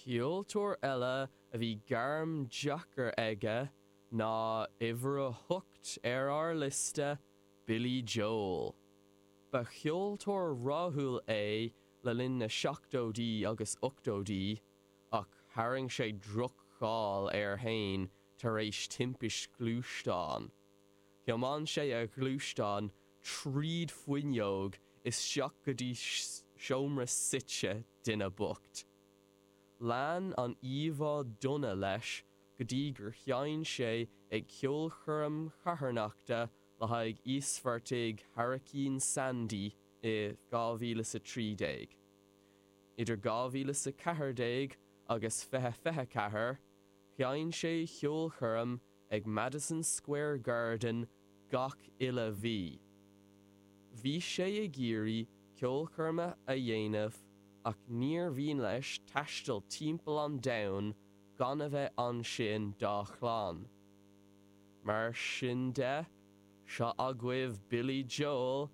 Ceoltóir eile a bhí gairm deacair aige ná uimhir 8 ar ár liosta, Billy Joel. Ba cheoltóir rathúil é le linn na seachtóidí agus ochtóidí, ach tharraing sé droch-cháil air féin tar éis timpist ghluaisteáin. Thiomáin sé a ghluaisteán tríd fuinneog isteach go dtí seomra suite duine bocht. Lean an íomhá dona leis go dtí gur sheinn sé ag ceolchoirm charthanachta le haghaidh íospartaigh Hairicín Sandy i 2013. Idir 2014 agus 2024, sheinn sé ceolchoirm ag Madison Square Garden gach uile mhí. Bhí sé ag iarraidh ceolchoirme a dhéanamh ach níor mhian leis taisteal timpeall an domhain gan a bheith ansin dá chlann. Mar sin de, seo agaibh Billy Joel.